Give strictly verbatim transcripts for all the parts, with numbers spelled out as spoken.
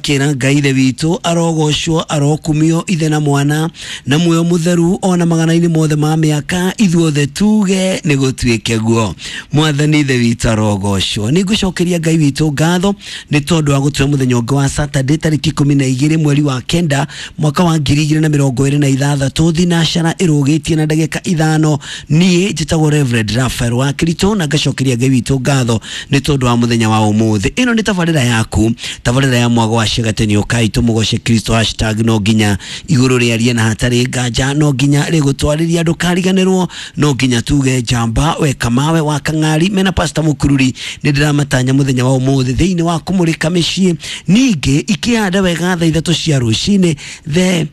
Ngakĩra Ngai Ithe witũ arogocwo, arokumio, ithe na mwana na muoyo mũtheru, ona magana-inĩ mothe ma mĩaka. Ithuothe tuge nĩ gũtuĩke guo. Mwathani Ithe witũ arogocwo. Nĩ ngũcokeria Ngai witũ ngatho nĩ tondũ wa gũtũhe mũthenya ũngĩ wa Saturday, tarĩki ikũmi na igĩrĩ mweri wa kenda mwaka wa ngiri igĩrĩ na mĩrongo ĩrĩ na ithathatũ, thinacara ĩrũgĩtie na ndagĩka ithano. Niĩ njĩtagwo Reverend Raphael wa Kirito na ngacokeria Ngai witũ ngatho nĩ tondũ wa mũthenya wa ũmũthĩ. Ĩno nĩ tabarĩra yaku, tabarĩra ya mwago wa ciagateni. Ũkai tũmũgoce Kristo, hashtag no nginya igũrũ rĩarie na hatarĩ nganja no nginya rĩgũtwarĩria, ndũkariganĩrwo no nginya tuge njamba we kamawe wa kang'ari mena Pastor Mũkururi. Nĩ ndĩramatanya mũthenya wa ũmũthĩ thĩinĩ wa kũmũrĩka mĩciĩ, ningĩ ikĩhanda wega thaa ithatũ cia rũcinĩ, the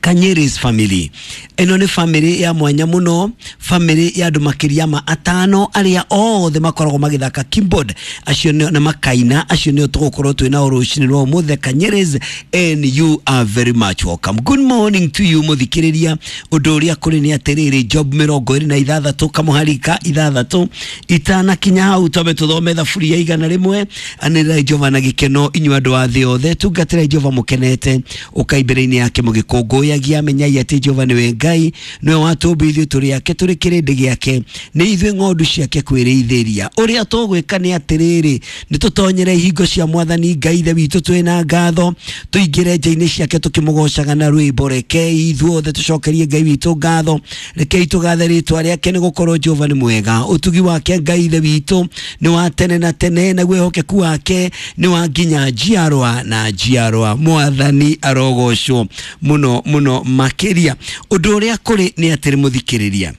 Kanyeris family. Ĩno nĩ family ya mwanya mũno, family ya andũ makĩria ma atano arĩa othe makoragwo magĩthaka keyboard, acio nĩo na makaina, acio nĩo tũgũkorwo twĩ nao rũcinĩ rwa ũmũthĩ, Kanyeris, and you are very much welcome. Good morning to you, mũthikĩrĩria. Ũndũ ũrĩa kũrĩ nĩ atĩrĩrĩ, Job mĩrongo ĩrĩ na ithathatũ kamũhari ka ithathatũ. Itanakinya hau, twambe tũthome thaburi ya igana rĩmwe. Anĩrĩrai Jehova na gĩkeno, inyuĩ andũ a thĩ othe, tungatĩrai Jehova mũkenete, ũkai mbere-inĩ yake mũgĩkũngũyagia. Menyai atĩ Jehova nĩwe Ngai, nĩwe watũmba, ithuĩ tũrĩ ake, tũrĩ kĩrĩndĩ gĩake, nĩ ithuĩ ng'ondu ciake kwĩrĩithĩria. Ũrĩa tũgwĩka nĩ atĩrĩrĩ, nĩ tũtonyere ihingo cia Mwathani Ngai Ithe witũ twĩna ngatho, tũingĩre nja-inĩ ciake tũkĩmũgocaga na rwĩmbo. Rekei ithuothe tũcokerie Ngai witũ ngatho, rekei tũgathe rĩtwa rĩake, nĩ gũkorwo Jehova nĩ mwega, ũtugi wake Ngai Ithe witũ nĩ wa tene na tene, naguo wĩhokeku wake nĩ wa nginya njiarwa na njiarwa. Mwathani arogocwo mũno mũno makĩria. Ũndũ ũrĩa kũrĩ nĩ atĩrĩ, mũthikĩrĩria,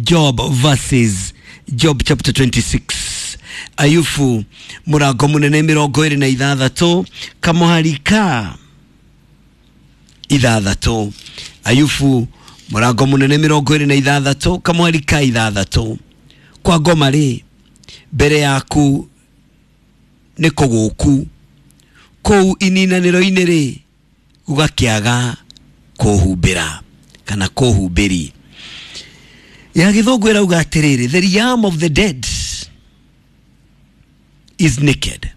Job verses Job chapter twenty-six, Ayubu mũrango mũnene mĩrongo ĩrĩ na ithathatũ kamũhari ka ithathatũ. Ayubu mũrango mũnene mĩrongo ĩrĩ na ithathatũ kamũhari ka ithathatũ. Kwa ngoma rĩ, mbere yaku nĩ kũgũku, kũu ininanĩro-inĩ rĩ, gũgakĩaga kũhumbĩra kana kũhumbĩri. Ya gĩthũngũ ĩrauga atĩrĩrĩ, "The realm of the dead is naked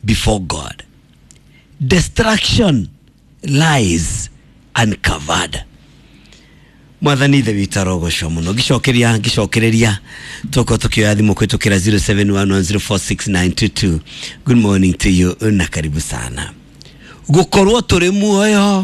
before God, destruction lies uncovered." Mwathani Ithe witũ arogocwo mũno. Ngĩcokeria ngĩcokereria tũkorwo tũkĩoya thimũ kũhĩtũkĩra zero seven one one zero four six nine two two. Good morning to you na karibu sana. Gũkorwo tũrĩ muoyo.